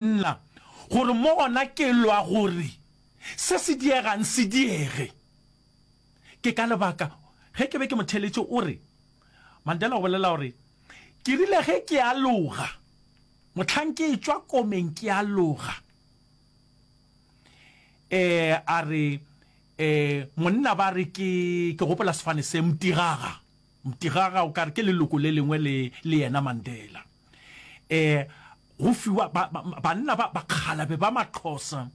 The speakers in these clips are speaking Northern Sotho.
Nna, gore mo gona ke lwa gore se se diegang se diege. Ke ka lebaka, ge ke be ke mo theeletše, o re, Mandela o bolela gore, Ke rile ge ke aloga, mohlang ke etšwa komeng ke aloga, e, a re, e, monna ba re ke, ke gopola sefane se, Mtigaga. Mtigaga o ka re ke leloko le lengwe le, le yena Mandela. E, go fiwa ba, ba, banna ba bakgalabe ba Maxhosa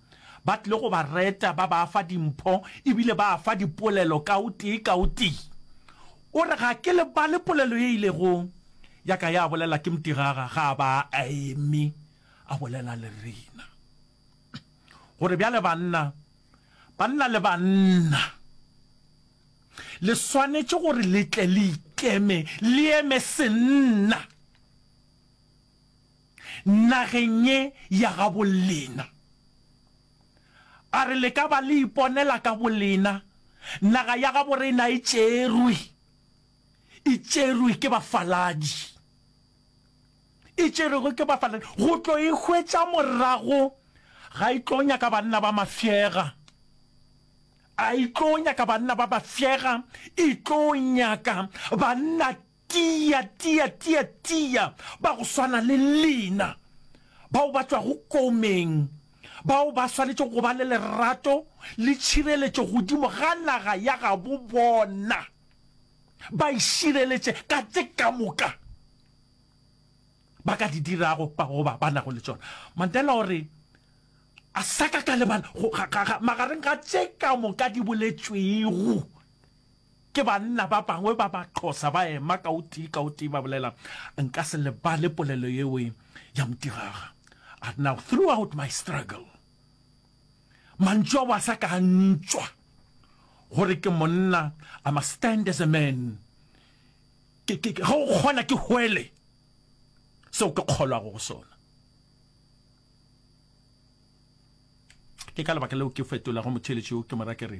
ba tlile go ba reta, ba ba fa dimpho, ebile ba fa dipolelo ka o tee ka o tee. O re, Ga ke lebale polelo ye ilego ya ka ya bolela ke Mtigaga ga a ba a eme a bolela le rena. Gore bjale banna, banna le banna, le swanetše gore le tle le ikeme, le eme senna nageng ye ya gabolena. A re le ka ba le iponela ka bolena, naga ya gaborena e tšerwe, e tšerwe ke bafaladi, e tšerwego ke bafaladi, go tlo e hwetša morago ga e tlo nyaka banna ba mafšega. A e tlo nyaka banna ba bafšega, e tlo nyaka banna tia, tia, tia, tia ba go swana le lena, bao ba tšwago komeng, bao ba swanetšego go ba le lerato le tšhireletšo godimo ga naga ya gabo bona, ba e šireletše ka tše ka moka ba ka di dirago goba ba nago le tšona. Mandela o re, A sa ka ka lebala, go, ga, ga, ga, magareng ga tše ka moka di boletšwego ke banna ba bangwe ba Baxhosa ba ema ka o tee ka o tee ba bolela, nka se lebale polelo yeo ya Mtiraga. A re, Now throughout my struggle, mantšu ao a sa ka a ntšwa gore ke monna, I must stand as a man. Ke, ke, ke, ge o kgona ke hwele seo ke kgolwago go sona. Ke ka lebaka leo ke fetolago motheeletši yo ke mo ra ke re,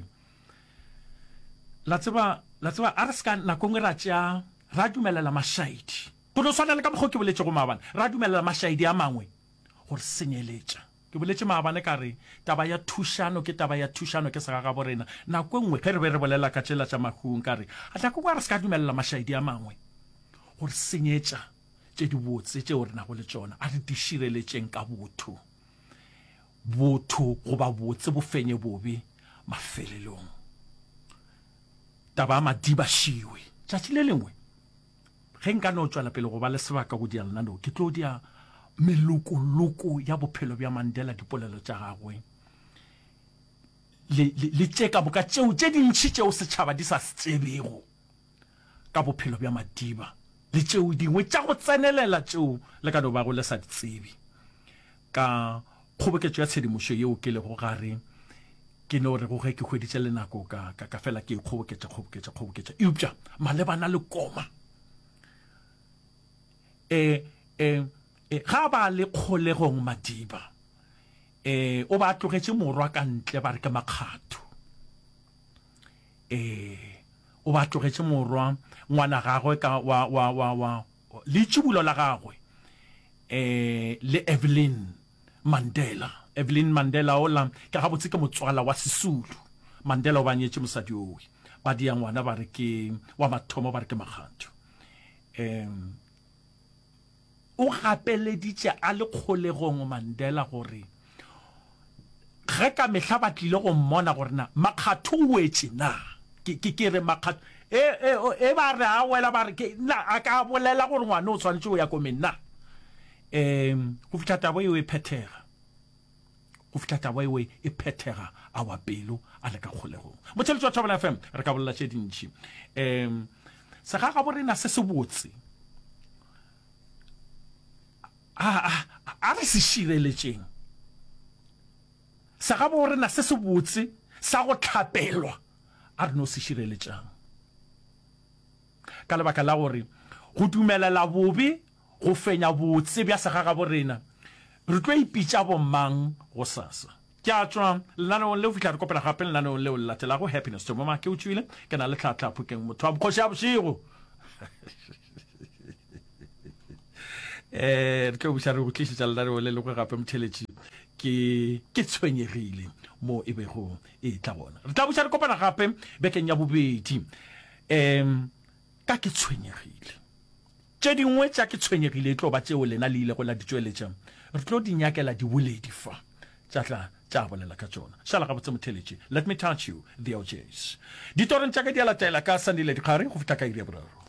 La tseba, la tseba, a re se ka nako nngwe ra tšea, ra dumelela mašaedi, go no swana le ka mokgwa o ke boletšego maabane, ra dumelela mašaedi a mangwe go re senyeletša. Ke boletše maabane ka re, taba ya thušano ke taba ya thušano, ke segagabo rena. Nako e nngwe ge re be re bolela ka tšela tša mahung, ka re, nako e nngwe a re se ka dumelela mašaedi a mangwe go re senyetša. Tše dibotse tšeo re nago le tšona, a re di šireletšeng ka botho. Botho goba botse bo fenye bobe mafelelong. Taba ya Madiba šiwe. Tšatši le lengwe ge nka no tšwela pele go ba le sebaka go dia lenaneo, ke tlo dia melokoloko ya bophelo bja Mandela, dipolelo tša gagwe le, le, le tše ka moka tšeo tše dintši tšeo setšhaba di sa se tsebego. ka bophelo bja Madiba le tšeo dingwe tša go tsenelela tšeo le ka no bago le sa di tsebe. Ka kgoboketšo ya tshedimošo yeo ke lego gare, ke no rego ge ke hweditše le nako ka, ka, ka fela ke e kgoboketša, kgoboketša, kgoboketša. Eupša malebana le koma, e, e, e, ga ba le kgolegong Madiba, e, o ba tlogetše morwa ka ntle ba re ke Makgatho. Ee, o ba tlogetše morwa ngwana gagwe ka wa, wa, wa, wa, leitšibulo la gagwe, ee, le Evelyn Mandela. Evelyn Mandela ola, ke gabotse ke motswala wa Sisulu. Mandela o ba nyetše mosadi owe. Ba dia ngwana ba re ke, wa mathomo ba re ke Makgatho. Um, O gapeleditše a le kgolegong Mandela gore ge ka mehla ba tlile go mmona gore na Makgatho o wetše na. Ke, ke, ke re Makgatho, e, e, e ba re a wela ba re ke, na a ka bolela gore ngwana o swanetše go ya komeng na? E, go fihla taba eo e phethega. Go fihla taba eo e phethega a wa pelo a le ka kgolegong. Motheeletši wa Thobela FM, re ka bolela tše dintši. E, segagaborena se sebotse A, a, a re se šireletšeng. Segaborena se sebotse sa go hlapelwa, a re no se šireletšang. Ka lebaka la gore go dumelela bobe go fenya botse bja segagaborena, re tlo ipitša bomang gosasa? Ke a tšwa lenaneong leo fihla re kopana gape lenaneong leo le latelago. Happiness Tomoma ke o tšwile, ke na le Tlhahla Phokeng motho wa bokgoši ya bošego. Eh, re tlo buša re go tlišetša lenaneo le lengwe gape motheletši ke ke tshwenyegile mo e bego e tla gona. Re tla buša re kopana gape bekeng ya bobedi. Um ka ke tshwenyegile. Tše dingwe tša ke tshwenyegile e tlo ba tšeo lena le ilego la di tšweletša. Re tlo di nyakela diboledi fa tša tla tša bolela ka tšona. Šala gabotse motheletši. Let me touch you, the OJs. Ditorong tša ka di a latela ka Sandile Dikgari go fihla ka iri ya boraro.